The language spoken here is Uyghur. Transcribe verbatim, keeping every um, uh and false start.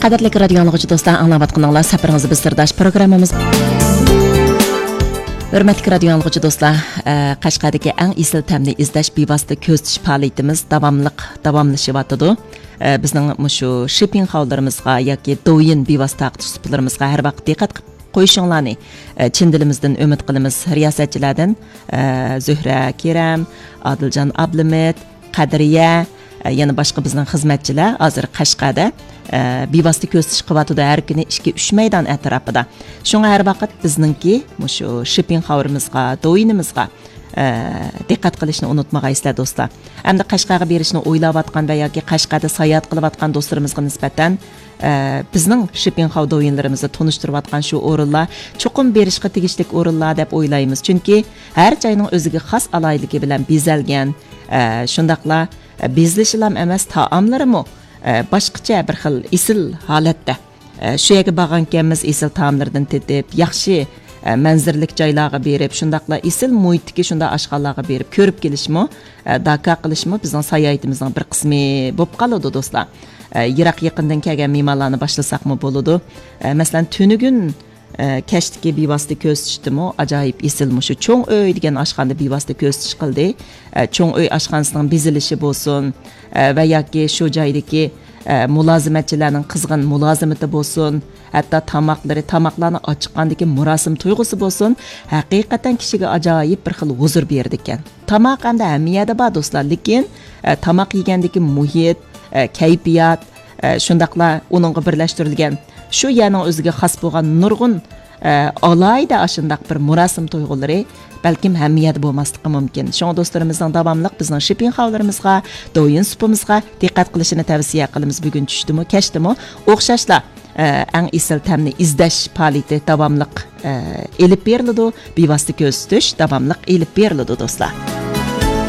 قەدىرلىك رادىيو ئاڭلىغۇچى دوستلار، ئاڭلاۋاتقىنىڭلار سەپىرىڭىز بىز سىرداش پروگراممىمىز. ھۆرمەتلىك رادىيو ئاڭلىغۇچى دوستلار، ئە، قەشقەردىكى ئەڭ ئېسىل تەمنى ئىزدەش بىۋاسىتە كۆزىتىش پائالىيىتىمىز داۋاملىق داۋاملىشىۋاتىدۇ. ئە، بىزنىڭ مۇشۇ شىپىڭخاۋلىرىمىزغا ياكى دوۋيىن بىۋاسىتە تارقىتىش سۇپىلىرىمىزغا ھەر ۋاقىت دىققەت قىلىپ قويۇشۇڭلارنى، ئە، چىن دىلىمىزدىن ئۈمىد قىلىمىز. رىياسەتچىلەردىن، ئە، زۆھرە كېرەم، ئادىلجان ئابلىمىت، قەدرىيە، ئە، يەنە باشقا بىزنىڭ خىزمەتچىلەر ھازىر قەشقەردە، ئە، بىۋاسىتە كۆزىتىش قىلىۋاتىدۇ ھەر كۈنى ئىككى، ئۈچ مەيدان ئەتراپىدا. شۇڭا ھەر ۋاقىت بىزنىڭكى مۇشۇ شىپىڭخاۋرىمىزغا، دوۋيىنىمىزغا، ئە، دىققەت قىلىشنى ئۇنتۇمىغايسىلەر دوستلار. ئەمدى قەشقەرگە بېرىشنى ئويلاۋاتقان ۋە ياكى قەشقەردە ساياھەت قىلىۋاتقان دوستلىرىمىزغا نىسبەتەن، ئە، بىزنىڭ شىپىڭخاۋ دوۋيىنلىرىمىزدا تونۇشتۇرۇۋاتقان شۇ ئورۇنلار چوقۇم بېرىشقا تېگىشلىك ئورۇنلار دەپ ئويلايمىز. چۈنكى ھەر جاينىڭ ئۆزىگە خاس ئالاھىدىلىكى بىلەن بېزەلگەن، ئە، شۇنداقلا، ئە، بېزىلىشىلام ئەمەس، تائاملىرىمۇ، ئە، باشقىچە بىر خىل ئېسىل ھالەتتە. ئە، شۇ يەرگە بارغانكەنمىز، ئېسىل تائاملىرىدىن تېتىپ، ياخشى، ئە، مەنزىرىلىك جايلارغا بېرىپ، شۇنداقلا ئېسىل مۇھىتتىكى شۇنداق ئاشخانىلارغا بېرىپ كۆرۈپ كېلىشمۇ، ئە، داكا قىلىشمۇ بىزنىڭ ساياھىتىمىزنىڭ بىر قىسمى بولۇپ قالىدۇ، دوستلار. ئە، يىراق يېقىندىن كەلگەن مېھمانلارنى باشلىساقمۇ بولىدۇ. ئە، مەسىلەن، تۈنۈگۈن، ئە، كەچتىكى بىۋاسىتە كۆزىتىشتىمۇ ئاجايىپ ئېسىل مۇشۇ چوڭ ئۆي دېگەن ئاشخانىدا بىۋاسىتە كۆزىتىش قىلدى. ئە، چوڭ ئۆي ئاشخانىسىنىڭ بېزىلىشى بولسۇن، ئە، ۋە ياكى شۇ جايدىكى، ئە، مۇلازىمەتچىلەرنىڭ قىزغىن مۇلازىمىتى بولسۇن، ھەتتا تاماقلىرى، تاماقلارنى ئاچىققاندىكى مۇراسىم تۇيغۇسى بولسۇن، ھەقىقەتەن كىشىگە ئاجايىپ بىر خىل ھۇزۇر بېرىدىكەن. تاماق ئەمدى ھەممە يەردە بار، دوستلار، لېكىن، ئە، تاماق يېگەندىكى مۇھىت، ئە، كەيپىيات، ئە، شۇنداقلا ئۇنىڭغا بىرلەشتۈرۈلگەن شۇ يەرنىڭ ئۆزىگە خاس بولغان نۇرغۇن، ئە، ئالاھىدە ئاشۇنداق بىر مۇراسىم تۇيغۇلىرى بەلكىم ھەممە يەردە بولماسلىقى مۇمكىن. شۇڭا دوستلىرىمىزنىڭ داۋاملىق بىزنىڭ شىپىڭخاۋلىرىمىزغا، دوۋيىن سۇپىمىزغا دىققەت قىلىشىنى تەۋسىيە قىلىمىز. بۈگۈن چۈشتىمۇ، كەچتىمۇ ئوخشاشلا، ئە، ئەڭ ئېسىل تەمنى ئىزدەش پائالىيىتى داۋاملىق، ئە، ئېلىپ بېرىلىدۇ. بىۋاسىتە كۆزىتىش داۋاملىق ئېلىپ بېرىلىدۇ، دوستلار.